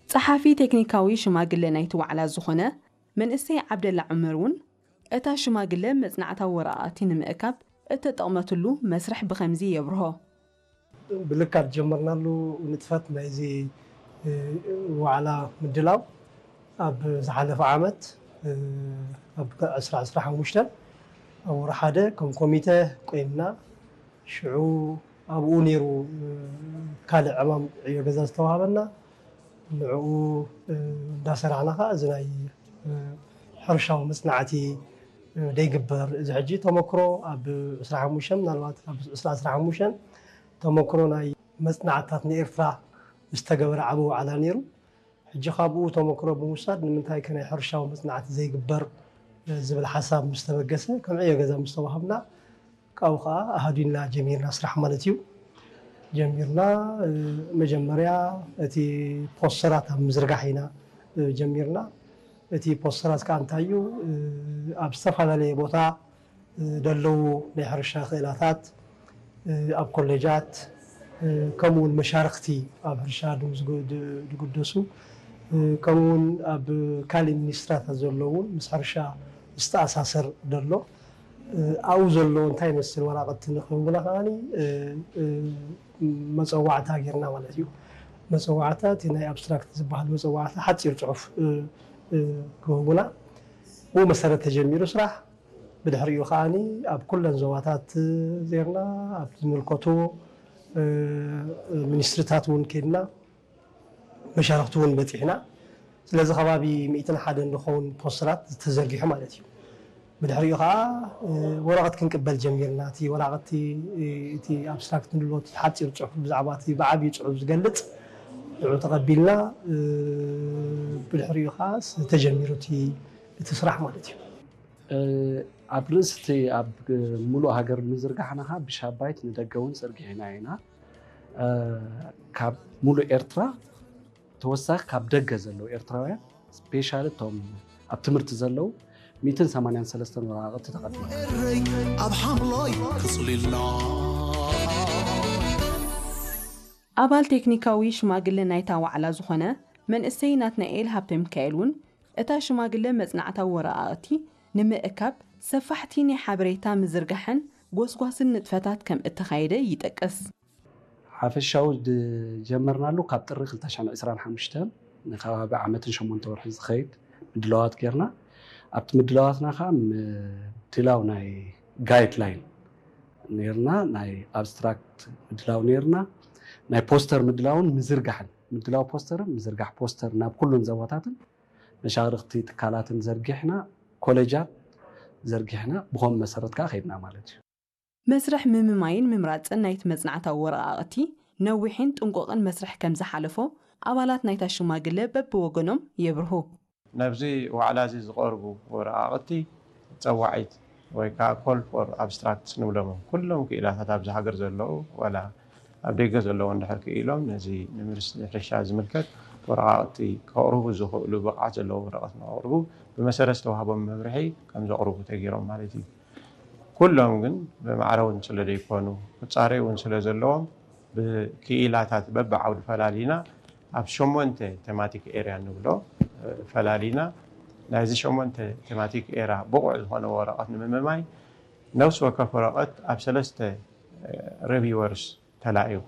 ጸሓፊ ቴክኒካዊ ሽማግለ ናይቲ ዋዕላ ዝኾነ መንእሰይ ዓብደላ ዑመር እውን፣ እታ ሽማግለ መጽናዕታዊ ወረቓቕቲ ንምእካብ እተጠቕመትሉ መስርሕ ብኸምዚ የብርሆ። ብልካ ዝጀመርናሉ ንጥፈት ናይዚ ዋዕላ ምድላው ኣብ ዝሓለፈ ዓመት ኣብ ዕስራ ዕስራ ሓሙሽተ ኣብ ወርሒ ሓደ ከም ኮሚተ ቆይምና፣ ሽዑ ኣብኡ ነይሩ ካልእ ዕማም ዕዮ ገዛ ዝተዋሃበና። ንዕኡ እንዳሰራሕና ከዓ እዚ ናይ ሕርሻዊ መፅናዕቲ ደይግበር፣ እዚ ሕጂ ተመክሮ ኣብ ዕስራ ሓሙሽተ፣ ምናልባት ኣብ ዕስራ ዕስራ ሓሙሽተ ተመክሮ ናይ መፅናዕትታት ንኤርትራ ዝተገበረ ዓቢ ዋዕላ ነይሩ። ሕጂ ካብኡ ተመክሮ ብምውሳድ ንምንታይ ከ ናይ ሕርሻዊ መፅናዕቲ ዘይግበር ዝብል ሓሳብ ምስ ተበገሰ፣ ከም ዕዮ ገዛ ምስ ተዋሃብና፣ ካብኡ ከዓ ኣሃዲና ጀሚርና ስራሕ ማለት እዩ። ጀሚርና መጀመርያ እቲ ፖስተራት ኣብ ምዝርጋሕ ኢና ጀሚርና። እቲ ፖስተራት ከዓ እንታይ እዩ፣ ኣብ ዝተፈላለየ ቦታ ደለዉ ናይ ሕርሻ ክእላታት ኣብ ኮሌጃት፣ ከምኡ እውን መሻርክቲ ኣብ ሕርሻ ድም ዝጉ- ድ- ድጉደሱ፣ ከምኡ እውን ኣብ ካልእ ሚኒስትራታት ዘለዉ እውን ምስ ሕርሻ ዝተኣሳሰር ደሎ ኣብኡ ዘሎ እንታይ ይመስል ወራቐቲ ንክህቡና ከዓኒ መፀዋዕታ ጌርና ማለት እዩ። መፀዋዕታ እቲ ናይ ኣብስትራክት ዝበሃል መፀዋዕታ ሓፂር ፅሑፍ ክህቡና፣ ብኡ መሰረት ተጀሚሩ ስራሕ። ብድሕሪኡ ከዓኒ ኣብ ኩለን ዞባታት ዜርና ኣብ ዝምልከቱ ሚኒስትሪታት እውን ከድና መሻርክቲ እውን በፂሕና። ስለዚ ከባቢ ሚእትን ሓደን ዝኸውን ፖስተራት ተዘርጊሑ ማለት እዩ። ብድሕሪኡ ከዓ ወረቐት ክንቅበል ጀሚርና። እቲ ወረቐቲ እቲ ኣብስትራክት ንብሎ እቲ ሓፂር ፅሑፍ ብዛዕባ እቲ ብዓብዩ ፅሑፍ ዝገልፅ ንዑ ተቐቢልና ብድሕሪኡ ከዓ ተጀሚሩ እቲ ስራሕ ማለት እዩ። ኣብ ርእሲ እቲ ኣብ ሙሉእ ሃገር ምዝርጋሕና ከዓ ብሻባይት ንደገ እውን ዘርጊሕና ኢና። ካብ ሙሉእ ኤርትራ ተወሳኺ ካብ ደገ ዘለዉ ኤርትራውያን ስፔሻሊ እቶም ኣብ ትምህርቲ ዘለዉ ሚእትን ሰማንያን ሰለስተን ወረቓቕቲ ተቐቢልና። ኣብ ሓምላይ ክፅሊልና ኣባል ቴክኒካዊ ሽማግለ ናይታ ዋዕላ ዝኾነ መንእሰይ ናትናኤል ሃብተሚካኤል እውን እታ ሽማግለ መጽናዕታዊ ወረቓቕቲ ንምእካብ ሰፋሕቲ ናይ ሓበሬታ ምዝርጋሕን ጎስጓስን ንጥፈታት ከም እተኻየደ ይጠቅስ። ሓፈሻዊ ዝጀመርናሉ ካብ ጥሪ ክልተ ሽሕን ዕስራን ሓሙሽተን ንከባቢ ዓመትን ሸሞንተ ወርሒ ዝኸይድ ምድላዋት ጌርና። ኣብቲ ምድላዋትና ከዓ ምድላው ናይ ጋይድላይን ኔርና፣ ናይ ኣብስትራክት ምድላው ኔርና፣ ናይ ፖስተር ምድላውን ምዝርጋሕን፣ ምድላው ፖስተርን ምዝርጋሕ ፖስተር ናብ ኩሉን ዘቦታትን መሻርኽቲ ትካላትን ዘርጊሕና፣ ኮሌጃት ዘርጊሕና፣ ብኸም መሰረት ከዓ ከይድና ማለት እዩ። መስርሕ ምምማይን ምምራፅን ናይቲ መፅናዕታዊ ወረቓቕቲ ነዊሕን ጥንቁቕን መስርሕ ከም ዝሓለፎ ኣባላት ናይታ ሽማግለ በብወገኖም የብርሁ። ናብዚ ዋዕላ እዚ ዝቐርቡ ወረቓቕቲ ጸዋዒት ወይ ከዓ ኮል ፎር ኣብስትራክትስ ንብሎም ኩሎም ክኢላታት ኣብዚ ሃገር ዘለዉ ዋላ ኣብ ደገ ዘለዉ እንድሕር ክኢሎም ነዚ ንሚኒስትሪ ሕርሻ ዝምልከት ወረቓቕቲ ከቕርቡ ዝኽእሉ ብቕዓት ዘለዎ ወረቐት ንኸቕርቡ ብመሰረት ዝተዋህቦም መምርሒ ከም ዘቕርቡ ተገይሮም ማለት እዩ። ኩሎም ግን ብማዕረ እውን ስለ ዘይኮኑ ክፃረዩ እውን ስለ ዘለዎም ብክኢላታት በብዓውዲ ፈላሊና ኣብ ሸሞንተ ቴማቲክ ኤርያ ንብሎ ፈላሊና ናይዚ ሸሞንተ ቴማቲክ ኤርያ ብቑዕ ዝኾነ ወረቐት ንምምማይ ነፍሲ ወከፍ ወረቐት ኣብ ሰለስተ ሪቪወርስ ተላኢኹ።